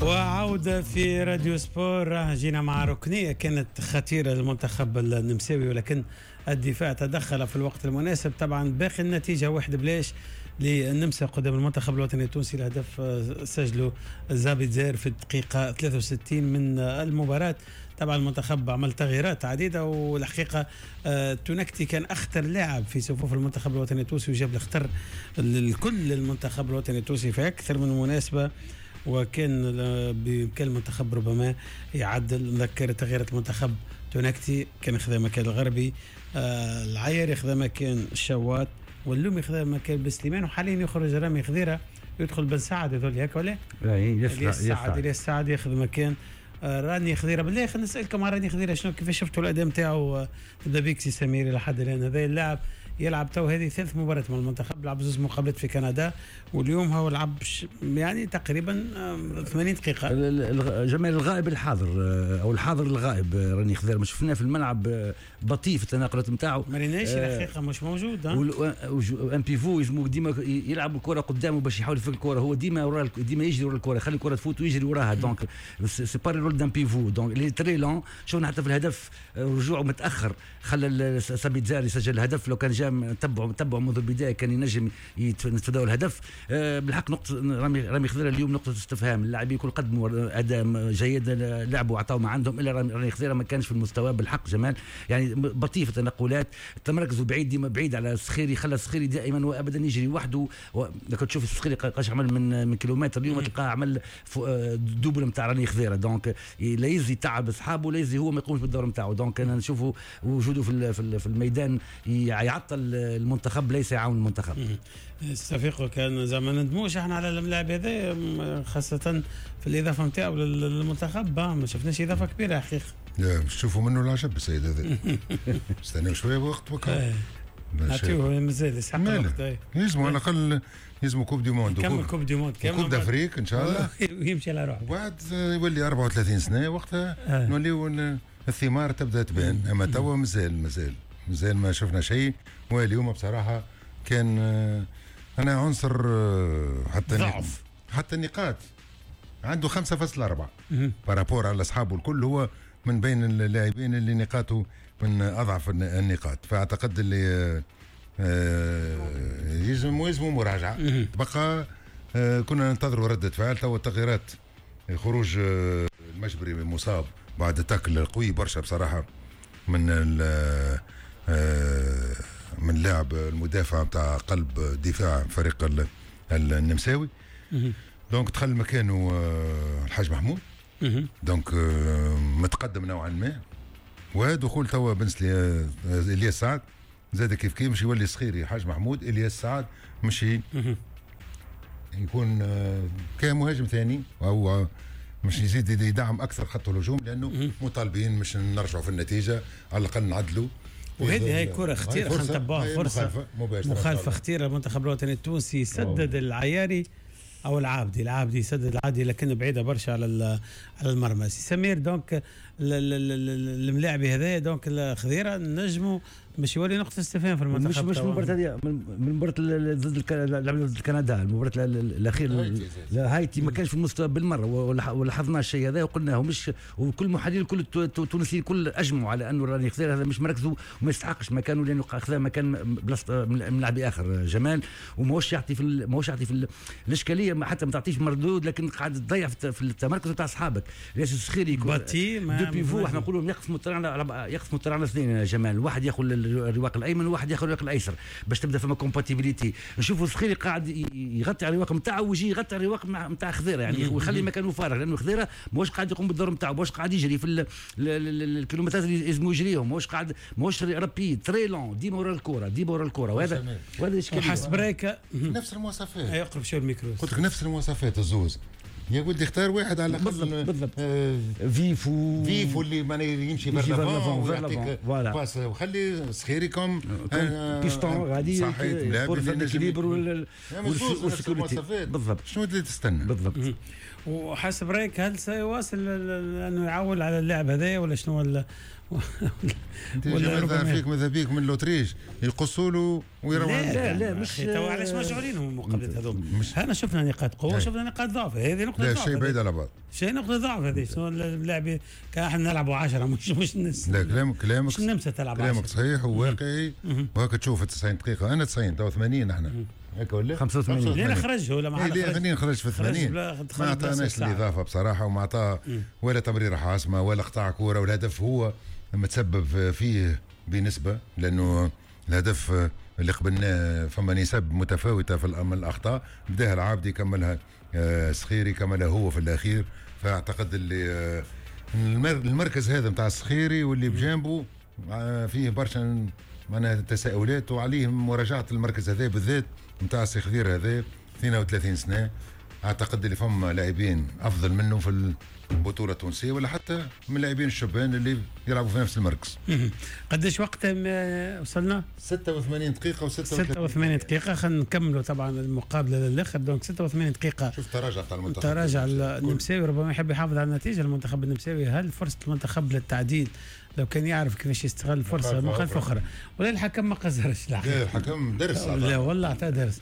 وعودة في راديو سبور. جينا مع ركنية كانت خطيرة للمنتخب النمساوي، ولكن الدفاع تدخل في الوقت المناسب. طبعا باقي النتيجة 1-0 للنمسا قدام المنتخب الوطني التونسي. الهدف سجله زابيتزر في الدقيقة 63 من المباراة. طبعا المنتخب عمل تغييرات عديدة، والحقيقة تونكتي كان أخطر لاعب في صفوف المنتخب الوطني التونسي، وجاب الخطر لكل المنتخب الوطني التونسي في أكثر من مناسبة، وكان بإمكان المنتخب ربما يعدل. نذكر تغييرات المنتخب: تونكتي كان خذا مكان الغربي، العياري خذا مكان الشوات، واللومي خذا مكان بسليمان، وحاليا يخرج رامي خضيره يدخل بن سعد. هذول هكا ولا؟ الياس سعد، الياس سعد ياخذ مكان راني خضيره. بالله خلينا نسالكم على راني خضيره، شنو كيفاش شفتوا الاداء نتاعو؟ تبدا بيك سي سمير. لحد الان هذا اللاعب يلعب تو هذه ثالث مباراة مع المنتخب، لعب زوج مقابلات في كندا، واليوم هو لعب يعني تقريبا 80 دقيقة. جمال، الغائب الحاضر او الحاضر الغائب راني خضير، ما شفناه في الملعب، بطيء في التناقلات نتاعو. ما ريناش الحقيقة، مش موجود. un pivot يلزمو ديما يلعب الكرة قدامه باش يحاول يفك الكرة، هو ديما ورا، ديما يجري ورا الكرة، يخلي الكرة تفوت ويجري وراها، donc c'est pas le rôle d'un pivot، donc il est très lent. شفنا حتى في الهدف رجوعه متاخر خلى سابيتزار يسجل الهدف. لو كان جا تبعه منذ البداية كان ينجم يتفاداو الهدف. بالحق نقطة رامي خضيره اليوم نقطة استفهام. اللاعبين الكل قدموا اداء جيد، لعبوا وعطاو ما عندهم، الا رامي خضيره ما كانش في المستوى بالحق جمال، يعني بطيء في التنقلات، تمركزه بعيد، ديما بعيد على السخيري، خلى السخيري دائما وابدا يجري وحده. لو تشوف السخيري قاش عمل من كيلومتر اليوم، تلقاه عمل double نتاع راني خضيره، donc لا يزي تعب اصحابه، لا يزي هو ما يقومش بالدور نتاعو. donc انا نشوفه وجوده في الميدان يعطل المنتخب ليس يعاون المنتخب. استفيقوا كان زعما ندموش احنا على الملاعب هذا، خاصة في الإضافة نتاعو للمنتخب، ما شفناش إضافة كبيرة حقيقة. لا شوفوا منه العجب السيد هذا، استناو شوية وقت وكا نعطيوه، مازال يسحق الوقت. يلزموا على الأقل يلزموا coupe du monde، كمل coupe du monde، coupe d'Afrique ان شاء الله، ويمشي على روحه. وبعد يولي 34 سنة، وقتها نوليو الثمار تبدا تبان. اما توا مازال مازال مازال ما شفنا شيء. واليوم بصراحة كان انا عنصر حتى ضعف، حتى النقاط عنده 5.4 par rapport على اصحابه الكل، هو من بين اللاعبين اللي نقاطه من اضعف النقاط. فاعتقد اللي يلزم مراجعه. تبقى كنا ننتظروا ردة فعل. تو التغييرات، خروج المجبري مصاب بعد tacle قوي برشا بصراحة من لاعب المدافع نتاع قلب دفاع فريق النمساوي، donc دخل مكانه الحاج محمود، donc متقدم نوعا ما. ودخول توا بن الياس سعد زاد كيف كيف، مش يولي صخيري حاج محمود الياس سعد، مش يكون كمهاجم ثاني او مش يزيد يدعم اكثر خط الهجوم، لانه مطالبين مش نرجعوا في النتيجة، على الاقل نعدلوا. وهذه هي كرة خطيرة، خلينا نتبعوها، فرصة مخالفة خطيرة. المنتخب الوطني التونسي سدد العياري او العابدي، العابدي سدد العابدي لكن بعيدة برشا على المرمى. سي سمير، donc الملاعب هذا donc الخضيره نجموا مش يولي نقطة استفهام في المنتخب. مش مباراة هذه، من مباراة ضد ضد كندا، المباراة الأخيرة هايتي ما كانش في المستوى بالمرة، ولاحظنا الشيء هذا وقلناه، مش وكل محللين كل التونسيين كل أجمعوا على أنه راني خضير هذا مش مركزه وما يستحقش مكانه، لأنه خذا مكان بلاصة من لاعب آخر جمال، وماهوش يعطي في ماهوش يعطي في الإشكالية، حتى ما تعطيش مردود، لكن قاعد تضيع في التمركز نتاع أصحابك. ليش السخيري deux pivots، احنا نقولوا يقسموا الطريق، يقسموا الطريق على اثنين جمال، واحد ياخذ الرواق الايمن وواحد ياخذ الرواق الايسر باش تبدا فما compatibilité. نشوفوا الصخيري قاعد يغطي على الرواق نتاعو ويجي يغطي على الرواق نتاع خضيره، يعني ويخلي مكانه فارغ، لانه خضيره ماهوش قاعد يقوم بالدور نتاعو، ماهوش قاعد يجري في الكيلومترات اللي يلزمو يجريهم، ماهوش قاعد، ماهوش rapide، très lent، ديما ورا الكره، ديما ورا الكره. وهذا اشكالية. وحسب رايك نفس المواصفات، يقرب شوية الميكرو، قلت لك نفس المواصفات الزوز يا ولدي، اختار واحد على الاقل. بالضبط بالضبط. vif و vif اللي معناها يمشي vers l'avant ويعطيك passe، وخلي صخيري comme piston غادي صحيح pour l'équilibre وال sécurité. بالضبط. شنو اللي تستنى؟ ولا فيك ماذا بيك من l'Autriche يقصوا له ويروح. لا لا مش تو علاش مشغولين هم المقابلات هذوما؟ احنا شفنا نقاط قوة شفنا نقاط ضعف، هذه نقطة ضعف. لا شيء بعيد على بعض، شيء نقطة ضعف هذه. شنو اللاعبين كان احنا نلعبوا 10 مش لا كلامك مش النمسا تلعب 10. كلامك صحيح وواقعي، وهكا تشوف 90 دقيقة. انا 90 تو 80 احنا هكا ولا 85 لين خرج ولا ما خرج؟ خرج في 80 ما عطاناش الاضافة بصراحة، وما عطاه ولا تمريره حاسمة ولا قطع كورة، والهدف هو متسبب فيه بنسبة، لانه الهدف اللي قبلناه فما نسب متفاوتة في الاخطاء، بداها العابدي كملها سخيري كملها هو في الاخير. فاعتقد اللي المركز هذا نتاع السخيري واللي بجانبه فيه برشا معناها تساؤلات، وعليه مراجعه المركز هذا بالذات نتاع السخير هذا 32 سنة. اعتقد اللي فما لاعبين افضل منه في البطولة التونسية ولا حتى من اللاعبين الشبان اللي يلعبوا في نفس المركز. قداش وقت وصلنا؟ 86 دقيقة و 86 دقيقة. خلينا نكملوا طبعا المقابلة للاخر. donc 86 دقيقة. شوف تراجع تاع المنتخب، تراجع النمساوي، ربما يحب يحافظ على النتيجة المنتخب النمساوي. هل فرصة المنتخب للتعديل لو كان يعرف كيفاش يستغل الفرصة مخالفة اخرى؟ ولا الحكم ما قصرش. لا الحكم درس، لا والله اعطاه درس.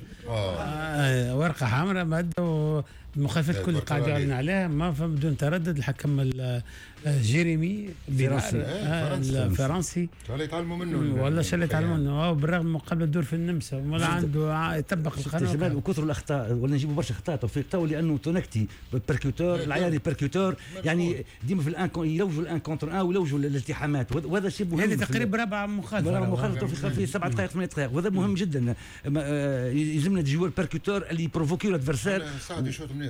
ورقة حمراء مادة المخالفات كل قاعد يعلن عليها ما بدون تردد. الحكم جيريمي الفرنسي يتعلموا منه والله شو اللي يتعلموا منه، بالرغم من قبل الدور في النمسا ولا عنده يطبق القانون. جمال وكثر الاخطاء ولا نجيبوا برشا اخطاء توفيق تو، لانه تونكتي percuteur العياري percuteur، يعني ديما في ال un يلوجوا ال un contre un ويلوجوا الالتحامات، وهذا شيء مهم. هذه تقريبا رابعه مخالفة، في 7 دقائق 8 دقائق، وهذا مهم جدا. يلزمنا des joueurs percuteurs اللي يبروفوكيو l'adversaire سعد يشوط منيح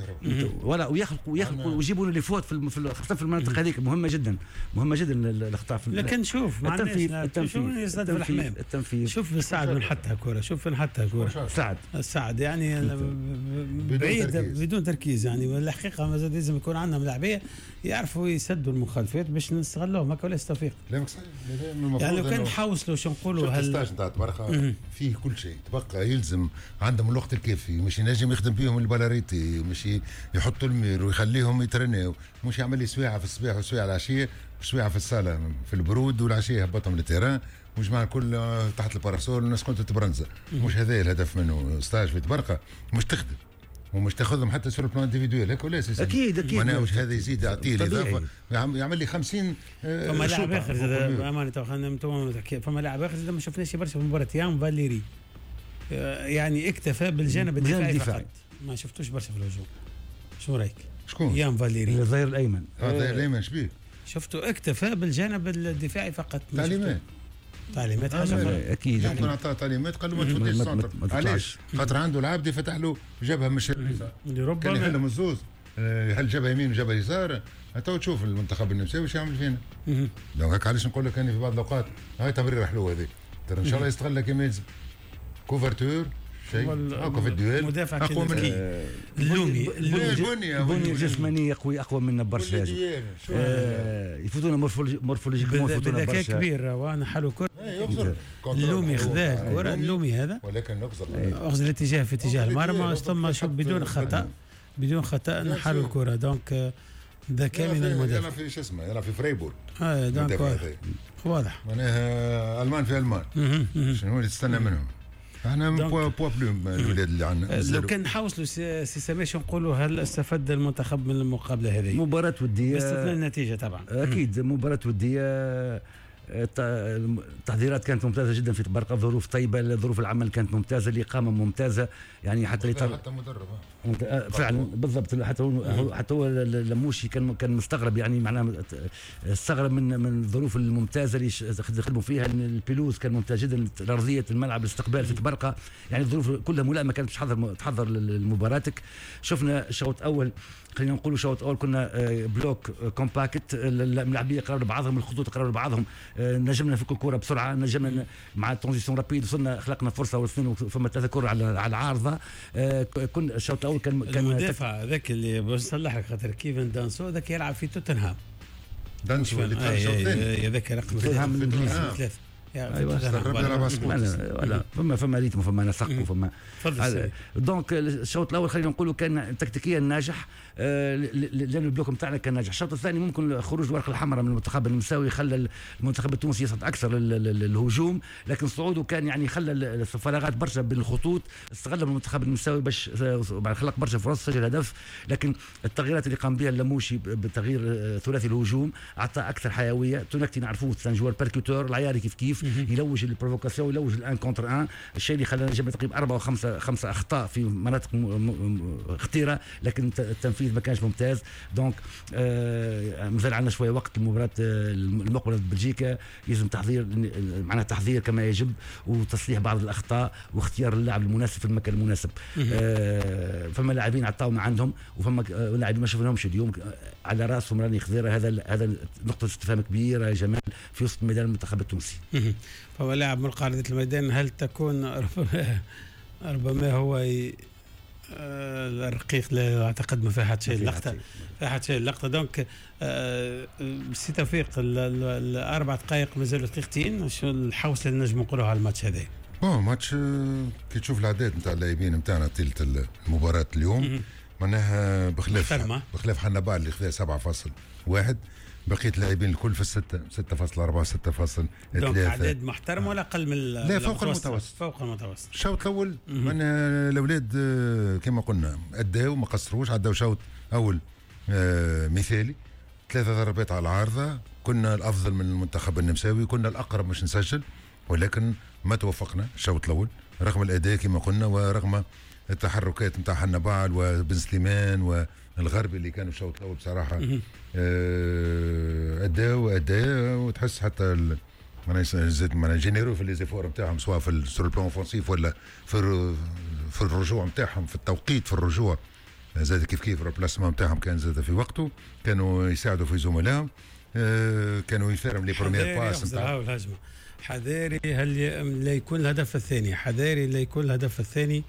ولا ويخلقوا ويجيبوا les fautes في خاصة في المناطق هذيك مهمة جدا، مهمة جدا الاخطاء في. لكن شوف التنفيذ، التنفيذ. شوف سعد من حطها كره، شوف من حطها كره سعد يعني بعيد بدون تركيز يعني. الحقيقة ما زاد لازم يكون عندنا ملاعبيه يعرفوا يسدوا المخالفات باش نستغلوهم هكا ولا توفيق. كلامك صحيح. يعني لو كان نحوصلوا شو نقولوا، هل stage نتاع تبارك فيه كل شيء تبقى يلزم عندهم الوقت الكافي، مش ينجم يخدم بيهم ال balle arrêtée، مش يحطوا ال mur ويخليهم يترناو، مش يعمل لي سواعه في الصباح وسواعه العشية وسواعه في الصاله في البرود والعشيه يهبطهم لل terrain وجماعه الكل تحت ال parasol والناس كنت تبرنزه. مش هذا الهدف منه stage في تبرقه، مش تخدم ومش تاخذهم حتى sur plan individuel هيك ولا اكيد اكيد. معناها مش هذا يزيد يعطيه الاضافة، يعمل لي 50. فما لاعب اخر زاد امانه فما لاعب اخر زاد ما شفناش برشا في المباراة، يان فاليري يعني اكتفى بالجانب الدفاعي فقط، ما شفتوش برشا في الهجوم. شو رايك؟ شكون؟ يان فاليري الظهير الايمن. الظهير الايمن شبيه؟ شفته اكتفى بالجانب الدفاعي فقط. تعليمات حاجة اكيد. يمكن عطاه تعليمات قال له ما تفوتش ال centre. علاش؟ خاطر عنده العابدي فتح له جبهة مش ربما كان يحلهم الزوز، يحل جبهة يمين وجبهه يسار. تو تشوف المنتخب النمساوي واش يعمل فينا. donc هكا علاش نقول لك انا في بعض الاوقات هاي تمريره حلوة هذه، ترى ان شاء الله يستغلها كما يلزم. couverture شيء هاكا في ال duel مدافع اقوى من اللومي. البنية الجسمانية قوي اقوى منا برشا، يفوتونا morphologiquement يفوتونا برشا. كبير وانا حلو كره اللومي خذاه الكره اللومي هذا، ولكن اخذ الاتجاه في اتجاه المرمى ثم شوف بدون خطا، بدون خطا نحلو الكره. donc ذكاء من المدافع. يلعب في شو اسمه، يلعب في فريبورغ. donc واضح معناها المان في المان. شنو اللي تستنى منهم؟ احنا poids plume الولاد اللي عندنا. لو كان نحوصلوا سي سامي شو نقولوا، هل استفاد المنتخب من المقابلة هذه؟ مباراة وديه باستثناء النتيجة طبعا. اكيد مباراة وديه، التحضيرات كانت ممتازة جدا في تبرقه، ظروف طيبة، ظروف العمل كانت ممتازة، الاقامة ممتازة، يعني حتى حتى مدرب فعلا بالضبط. حتى هو لموشي كان مستغرب، يعني معناه استغرب من الظروف الممتازة اللي خدموا فيها. ال pelouse كان ممتاز جدا، ارضية الملعب، الاستقبال في تبرقه، يعني الظروف كلها ملائمه كانت تحضر لمباراتك. شفنا شوط اول، خلينا نقولوا شوط اول كنا bloc compact، الملاعبيه قرروا بعضهم، الخطوط قرروا بعضهم، نجمنا نفك الكره بسرعة، نجمنا مع transition rapide وصلنا خلقنا فرصة واثنين فما ثلاثة كره على العارضة. كنا الشوط الاول كان المدافع ذاك اللي باش نصلح لك خاطر كيفن دانسو ذاك يلعب في توتنهام. دانسو اللي دخل الشوط الثاني هذاك رقم 3 ايوه voilà، فما rythme، فما نسق وفما. donc الشوط الاول خلينا نقولوا كان تكتيكيا ناجح، لان ال bloc نتاعنا كان ناجح. الشوط الثاني ممكن خروج الورقة الحمراء من المنتخب النمساوي خلى المنتخب التونسي يصعد اكثر للهجوم، لكن صعوده كان يعني خلى الفراغات برشا بين الخطوط، استغل المنتخب النمساوي باش خلق برشا فرص، سجل هدف. لكن التغييرات اللي قام بها اللموشي بتغيير ثلاثي الهجوم اعطى اكثر حيويه. تونكتي نعرفوه c'est un joueur percuteur، العياري كيف كيف يلوج ال provocation، يلوج ال un contre un، الشيء اللي خلانا نجيب تقريبا اربعة وخمسة خمسة اخطاء في مناطق خطيره، لكن التنفيذ ما كانش ممتاز. donc مازال عندنا شوية وقت، المباراة المقبلة بلجيكا لازم تحضير، معناها تحضير كما يجب وتصليح بعض الاخطاء واختيار اللاعب المناسب في المكان المناسب. فما لاعبين عطاو ما عندهم، وفما لاعبين ما شفناهمش اليوم، على راسهم راني خضيره. هذا نقطة استفهام كبيرة يا جمال في وسط ميدان المنتخب التونسي. فهو لاعب من قاعدة الميدان، هل تكون ربما هو الرقيق؟ لا اعتقد، ما فيها حتى شيء اللقطه، فيها حتى شيء اللقطه. donc سي توفيق، ال4 دقائق مازالوا دقيقتين، شو الحوصله اللي نجم نقولوها على الماتش هذا؟ bon match كي تشوف الاعداد نتاع اللاعبين نتاعنا طيلة المباراة اليوم، معناها بخلاف حنبعل اللي خذا 7.1، بقية اللاعبين الكل في الستة، 6.4، 6.3. اعداد محترم ولا اقل من؟ لا، فوق المتوسط. فوق المتوسط. الشوط الاول من الاولاد كما قلنا اداو، ما قصروش، عداو شوط اول مثالي، ثلاثة ضربات على العارضه، كنا الافضل من المنتخب النمساوي، كنا الاقرب باش نسجل، ولكن ما توفقنا الشوط الاول رغم الاداء كما قلنا ورغم التحركات نتاع حنبعل وبن سليمان والغربي اللي كانوا الشوط الاول بصراحة اداو اداء، وتحس حتى معناها زاد معناها généreux في les efforts نتاعهم، سواء في sur le plan offensif ولا في الرجوع نتاعهم، في التوقيت في الرجوع زاد كيف كيف ال remplacement نتاعهم كان زاد في وقته، كانوا يساعدوا في زملائهم، كانوا يفيرم les premières passes. نتاع الهجمه. حذاري هل لا يكون الهدف الثاني، حذاري لا يكون الهدف الثاني.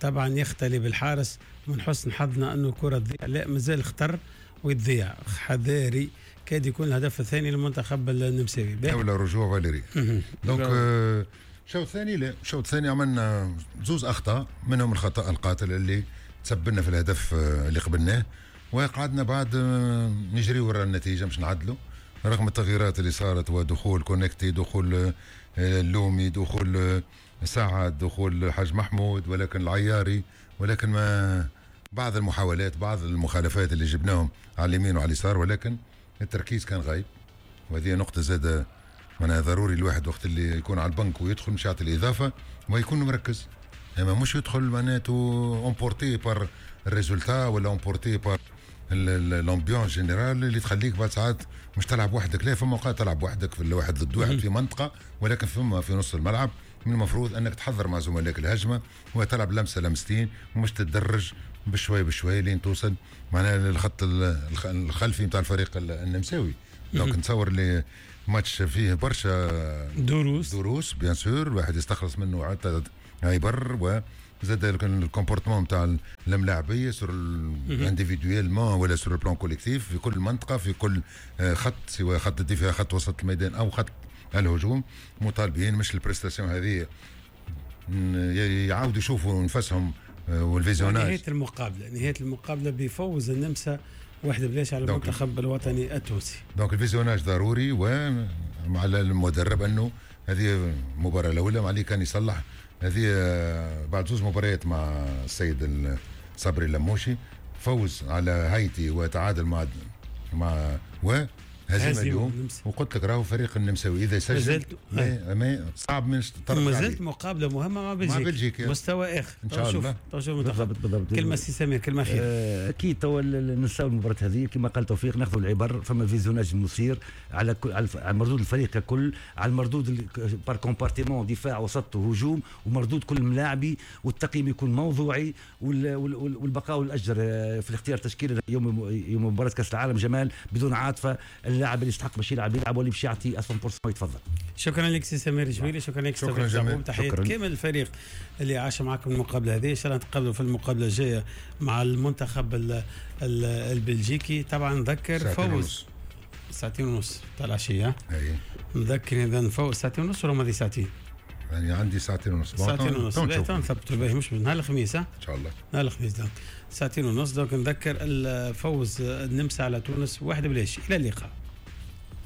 طبعا يختلي بالحارس، من حسن حظنا انه الكره تضيع، لا مازال خطر ويتضيع. حذاري كاد يكون الهدف الثاني للمنتخب النمساوي. ولا رجوع فاليري. donc الشوط الثاني، لا، الشوط الثاني عملنا زوز اخطاء، منهم الخطا القاتل اللي تسببنا في الهدف اللي قبلناه، وقعدنا بعد نجري ورا النتيجة مش نعدلوا رغم التغييرات اللي صارت ودخول كونكتي، دخول اللومي، دخول سعد، دخول حاج محمود، ولكن العياري، ولكن ما بعض المحاولات، بعض المخالفات اللي جبناهم على اليمين وعلى اليسار، ولكن التركيز كان غايب. وهذه نقطة زادة معناها ضروري الواحد وقت اللي يكون على البنك ويدخل مش يعطي الإضافة ويكون مركز، اما مش يدخل معناته emporté par ال résultat ولا emporté par l'ambiance générale اللي تخليك بعد ساعات مش تلعب وحدك. لا، فما اوقات تلعب وحدك في الواحد ضد واحد في منطقه، ولكن فما في نص الملعب من المفروض انك تحضر مع زملائك الهجمة وتلعب لمسه لمستين، ومش تتدرج بشوي بشوي لين توصل معناها للخط الخلفي نتاع الفريق النمساوي. donc نتصور اللي ماتش فيه برشا دروس. دروس bien sûr، الواحد يستخلص منه عدة عبر، وزاد ال comportement نتاع الملاعبيه sur individuellement ولا sur plan collectif في كل منطقه، في كل خط، سواء خط الدفاع، خط وسط الميدان او خط الهجوم. مطالبين مش ال prestation هذه يعاودوا يشوفوا نفسهم وال visionnage. نهاية المقابله، نهاية المقابلة بفوز النمسا 1-0 على المنتخب الوطني التونسي. donc ال visionnage ضروري، وعلى المدرب انه هذه المباراة الاولى ما عليه كان يصلح هذه بعد زوز مباريات مع السيد صبري اللموشي، فوز على هايتي وتعادل مع و هزيمة اليوم. وقلت لك راهو فريق النمساوي اذا يسجل ما صعب من ما زلت مقابله مهمة مع بلجيكا، مع بلجيكا مستوى اخر. ان شاء الله. بالضبط بالضبط. كلمة سي سمير، كلمة اخيرة. اكيد تو نساو المباراة هذه، كما قال توفيق ناخذ العبر، فما visionnage المصير على كل، على مردود الفريق ككل، على المردود par compartiment، دفاع وسط وهجوم، ومردود كل ملاعبي، والتقييم يكون موضوعي، والبقاء والاجر في الاختيار تشكيله يوم مباراة كاس العالم جمال بدون عاطفه، اللاعب اللي يستحق باش يلعب يلعب، واللي باش يعطي 100% يتفضل. شكرا لك سي سمير جويلي، شكرا لك. شكرا جميل. تحية كامل الفريق اللي عاش معكم المقابلة هذه. ان شاء الله نتقابلوا في المقابلة الجاية مع المنتخب البلجيكي. طبعا نذكر فوز 2:30 تاع العشيه. اي. نذكر اذا فوز 2:30 ولا ماضي ساعتين؟ يعني عندي 2:30. 2:30 نثبتوا باهي، مش نهار الخميس. ان شاء الله نهار الخميس donc 2:30. donc نذكر الفوز النمسا على تونس 1-0. الى اللقاء.